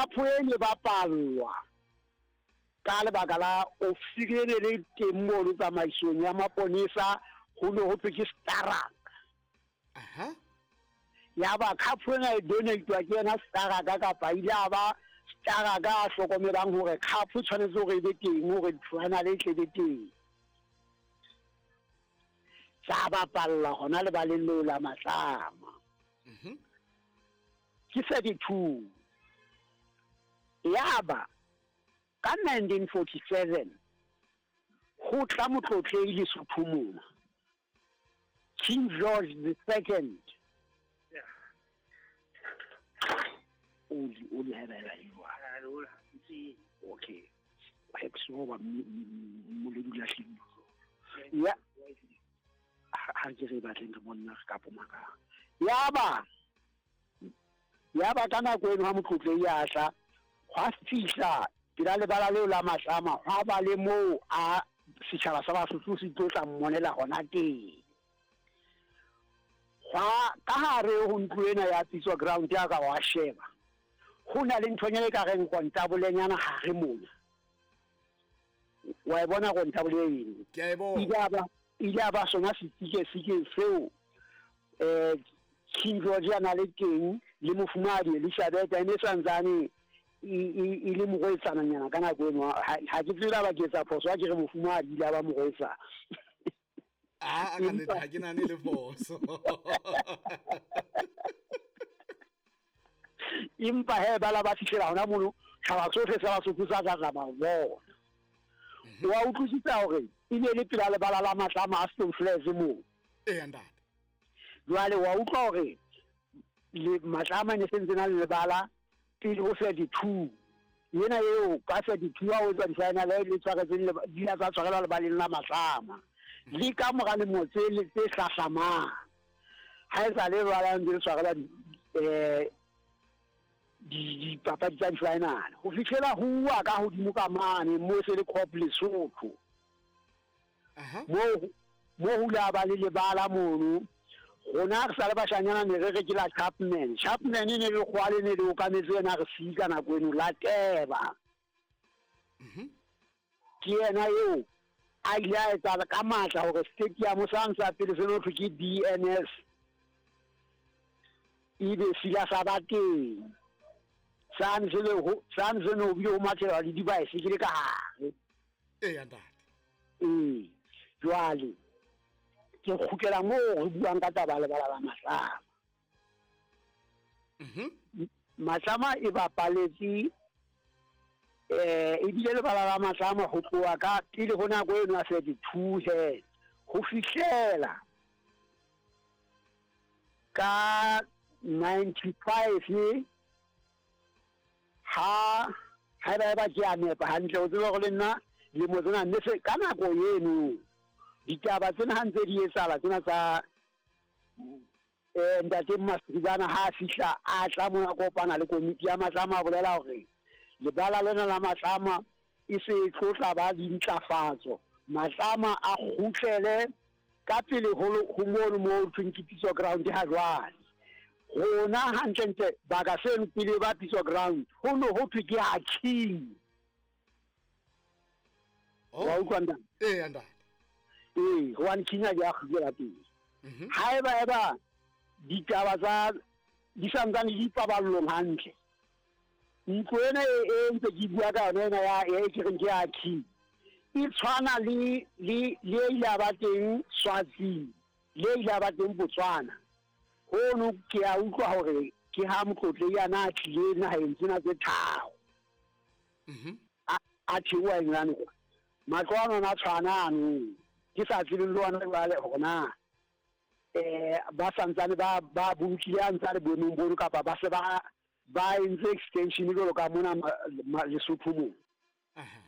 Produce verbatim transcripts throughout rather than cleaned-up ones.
Khapo e ne bapallwa ka lebaka la ofisiri e ne le teng mono tsamaisong ya maponesa, ho ne ho thwe ke Staraka. Aha. Ya ba khapo ena e donate-wa ke yena Staraka, kapa ile a ba Staraka a hlokomelang hore khapo e tshwanetse hore e be teng hore final e tle be teng. Tsa bapalla hona lebaleng leo la Matlama. Mhm. Ke thirty-two. Yaba ka nineteen forty-seven ho tla motlotlehi Lesotho mona, King George the Second. O di, o di hebela jwang? Okay. Hex ba moledi la hleng. Ya ha ke re batleng re monna re ka poma ka. Yaba yaba ka nako eno ha motlotlehi a tla, hwa fihla pela lebala leo la Matlama, hwa ba le moo a setjhaba sa Basotho se tlo tla mmonela hona teng. Hwa ka hare ho ntlo ena ya Pitso Ground ya ka wa sheba, ho na le nthonyana e ka reng kontabolenyana hare mona. Wa e bona kontabole eno? Ke a e bona. Ile a ba, ile a ba sona setike-sike seo, eh, King George a na le teng le mofumahadi Elizabeth, e ne santsane e, e, e le morwetsananyana ka nako eno. Ha, ha ke tsebe ba ke etsa phoso, ha ke re mofumahadi ile a ba morwetsana. Ah, ka nnete, ha ke nahane le phoso. Empa he ba la ba fihlela hona mono, tjhaba sohle sa Basotho sa tla tla ba bona. Wa utlwisisa hore e ne le pela lebala la Matlama a Stoneflex moo. Eya, ntate. Jwale wa utlwa hore le Matlama ne sentse na le lebala pele ho thirty-two. Yena eo ka thirty-two ha o etsa di-final le tshwaretseng le di la tsa tshwarelwa lebaleng la Matlama. Le ka mora lemo tse le tse hlahlamang, ha e sa le lebala ntse le tshwarelwa di, eh, di, dipapadi tsa di-final. Ho fihlela ho uwa ka hodimo ka mane moo se le Cop Lesotho. Aha. Moo, moo ho la ba le lebala mono. Rona re sa le bashanyana ne re re ke la Chapman. Chapman e ne le kgwale ne le okametse yena re sika nako eno la Teba. Mhm. Ke yena eo a ile a etsa ka matla hore stadium sa ntsa pele se no thwe ke B N S ebe sila sa ba teng. Sane se le ho, sane se no bile ho mathela le dibaesekele ka hare. Eya, ntate. Ee, jwale ke kgutlela moo re buang ka taba lebala la Matlama. Mhm. Matlama e bapaletse, eh, ebile lebala la Matlama ho tloha ka pele ho nako eno ya thirty-two he, ho fihlela ka ninety-five ha, ha eba eba ke a nepa hantle, o tsebe hore le nna lemo tsena ne se ka nako eno ditaba tsena ha ntse di etsahala tsena tsa, eh, ntate Masiribana ha a fihla a tla mona kopana le komiti ya Matlama, a bolela hore lebala lena la Matlama e se e tlo tla ba dintlafatso, Matlama a kgutlele ka pele ho lo-, ho mono moo ho thweng ke Pitso Ground ha jwale. Rona hantlentle baka seno pele ba Pitso Ground ho no ho thwe ke ha King. Oh. Wa utlwa ntate? Eya, ntate. Ee, hobane King a ke a kgutlela pele. Mhm. Ha eba eba ditaba tsa di santsane di paballong hantle, ntlo ena e, e ntse ke bua ka yona ena ya, e ke reng ke ya King, e tshwana le, le, le e ile ya ba teng Swaziland, le e ile ya ba teng Botswana. Hono ke a utlwa hore ke ha motlotlehi a na tlile naheng tsena tse tharo. Mhm. A, a theoha England kwa. Matlo ano a tshwana ano. Ke sa tsebe le ona jwale hore na, eh, ba santsane ba, ba bolokile a ntse a le boemong bono kapa ba se ba, ba entse extension jwalo ka mona ma-, ma-, Lesotho moo. Aha.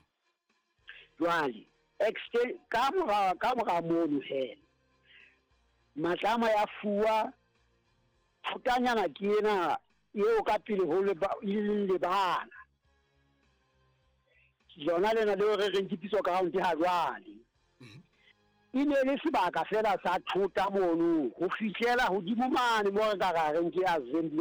Jwale, exten-, ka mora, ka mora mono he, Matlama ya fuwa thotanyana ke ena eo ka pele ho leba-, e leng lebala. Lona lena leo re reng ke Pitso Ground ha jwale. Mhm. E ne le sebaka fela sa thota mono ho fihlela hodimo mane moo re ka ra reng ke assembly